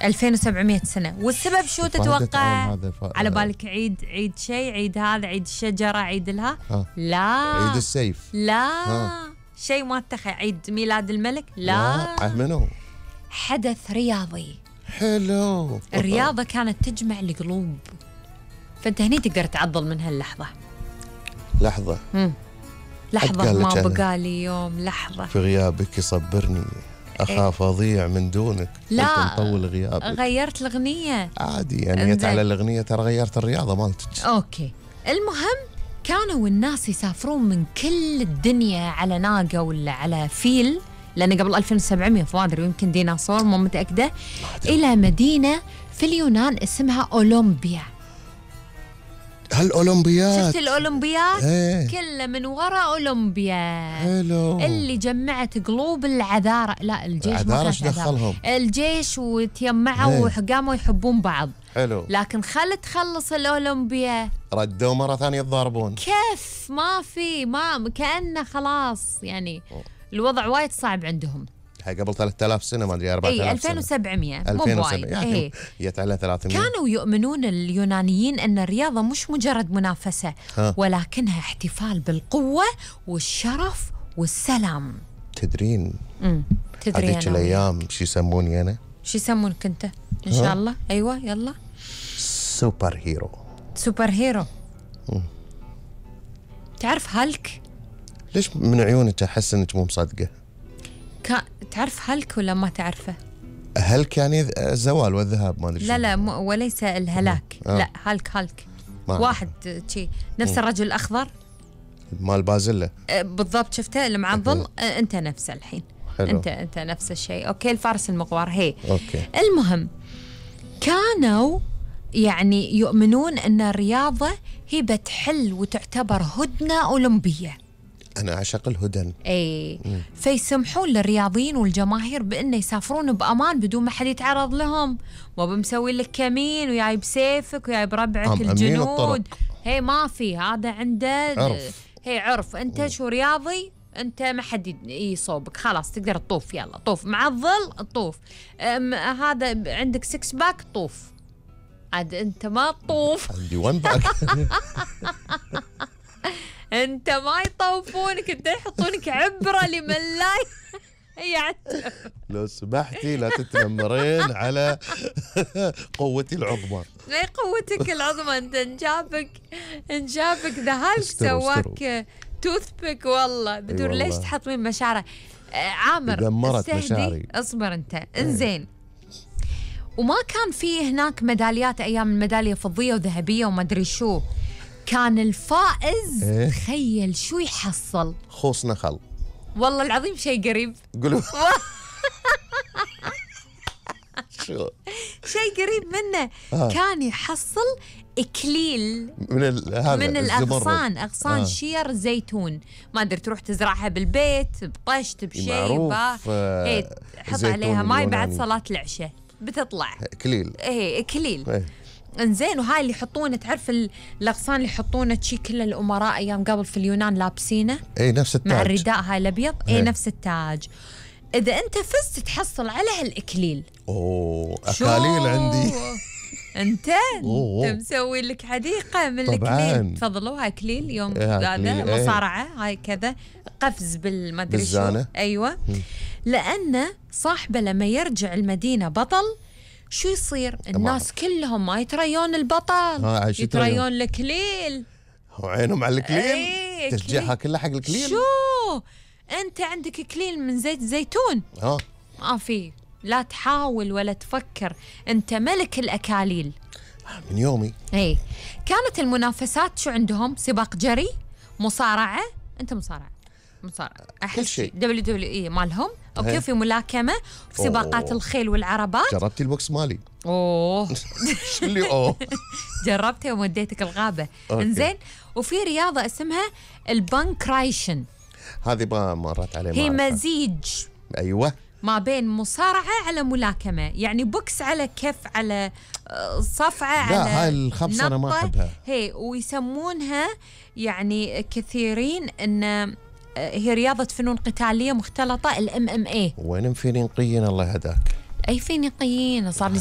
2700 سنة. والسبب شو تتوقع؟ على بالك عيد شيء، عيد هذا، عيد الشجرة، عيد لها؟ لا، عيد السيف؟ لا، شيء ما اتخذ. عيد ميلاد الملك؟ لا. منو؟ حدث رياضي. حلو. الرياضة كانت تجمع القلوب، فأنت هني تقدر تعضل من هاللحظة. لحظة ما بقالي يوم، لحظة في غيابك يصبرني، أخاف أضيع من دونك. لا، مطول غيابك. غيرت الأغنية عادي يعني، جت على الأغنية ترى غيرت الرياضة مالتك. أوكي. المهم كانوا الناس يسافرون من كل الدنيا على ناقة ولا على فيل، لأن قبل 2700 فما أدري، يمكن ديناصور، مو متأكدة، إلى مدينة في اليونان اسمها أولمبيا. هالأولمبيات، شفت الأولمبيات؟ كله من وراء أولمبيا. حلو. اللي جمعت قلوب العذارى. لا، الجيش ما كانش دخلهم. الجيش وتيمعوا وقاموا يحبون بعض. حلو. لكن تخلص الأولمبيا ردوا مرة ثانية يتضاربون. كيف؟ ما كأنه خلاص يعني الوضع وايد صعب عندهم. هاي قبل 3000 سنة، ما أدري 4000 سنة. 2700 مو بوايد يعني جت على 300. كانوا يؤمنون اليونانيين أن الرياضة مش مجرد منافسة، ولكنها احتفال بالقوة والشرف والسلام. تدرين تدرين هذيك الأيام شو يسموني أنا؟ شو يسمونك أنت؟ إن شاء الله. أيوة يلا. سوبر هيرو. تعرف هالك؟ ليش من عيونك أحس أنك مو مصدقة؟ تعرف هالك ولا ما تعرفه؟ هالك يعني الزوال والذهاب، ما أدري. لا وليس الهلاك. لا، هالك واحد شي نفس الرجل الأخضر مال بازلة بالضبط. شفته المعضل؟ أنت نفسه الحين. حلو. أنت نفس الشيء. أوكي. الفارس المغوار. أوكي. المهم كانوا يعني يؤمنون أن الرياضة هي بتحل وتعتبر هدنة أولمبية. أنا أعشق الهدن. فيسمحون للرياضيين والجماهير بأنه يسافرون بأمان بدون ما حد يتعرض لهم. مو بمسوي لك كمين وياي بسيفك وياي بربعك الجنود. ما في هذا عنده عرف. أنت شو رياضي، أنت ما حد يصوبك، خلاص تقدر تطوف. يلا طوف مع الظل، طوف. هذا عندك 6 باك، طوف. عاد أنت ما تطوف. عندي 1 باك. انت ما يطوفونك، انت يحطونك عبرة لمن لا لو سمحتي لا تتنمرين على قوتي العظمى. اي قوتك العظمى. انت انجابك ذا هالك سواك توث بيك. والله بدون ليش تحطمين مشاعره. عامر دمرت مشاعري. اصبر انت. انزين. وما كان في هناك ميداليات ايام، الميداليه فضيه وذهبيه وما ادري شو. كان الفائز تخيل شو يحصل؟ خوص نخل. والله العظيم شيء قريب. قولوا. شو؟ شيء قريب منه. كان يحصل إكليل من الأغصان. أغصان شير زيتون. ما أدري تروح تزرعها بالبيت بطشت بشيء حط عليها ماي بعد صلاة العشاء بتطلع إكليل. إكليل. انزين. وهاي اللي يحطونه، تعرف الاغصان اللي يحطونه شي كل الامراء ايام قبل في اليونان لابسينه. نفس التاج مع الرداء هاي الابيض. نفس التاج. اذا انت فزت تحصل على هالاكليل. اكاليل عندي. انت مسوي لك حديقه من الاكليل. تفضلوا. هاي اكليل يوم هذا مصارعه. هاي كذا قفز بالمدري شو. ايوه. لانه صاحبه لما يرجع المدينه بطل شو يصير؟ الناس كلهم ما يتريون البطل، يتريون الكليل. وعينهم على الكليل. تشجيعها كلها حق الكليل. شو انت عندك كليل من زيت زيتون؟ ما في. لا تحاول ولا تفكر، انت ملك الاكاليل من يومي. كانت المنافسات شو عندهم؟ سباق جري، مصارعه. انت مصارعه كل شيء. WWE مالهم. اوكي. في ملاكمه، في سباقات الخيل والعربات. جربتي البوكس مالي؟ شو اللي جربتها ووديتك الغابه. انزين. وفي رياضه اسمها البانكرايشن. هذه ما مرت علي. هي مزيج. ايوه. ما بين مصارعه على ملاكمه، يعني بوكس على كف على صفعه على. لا هاي الخبصه انا ما احبها. ويسمونها يعني كثيرين ان هي رياضة فنون قتالية مختلطة، MMA. وين مفينين قيين الله يهداك. اي فينيقيين صار لي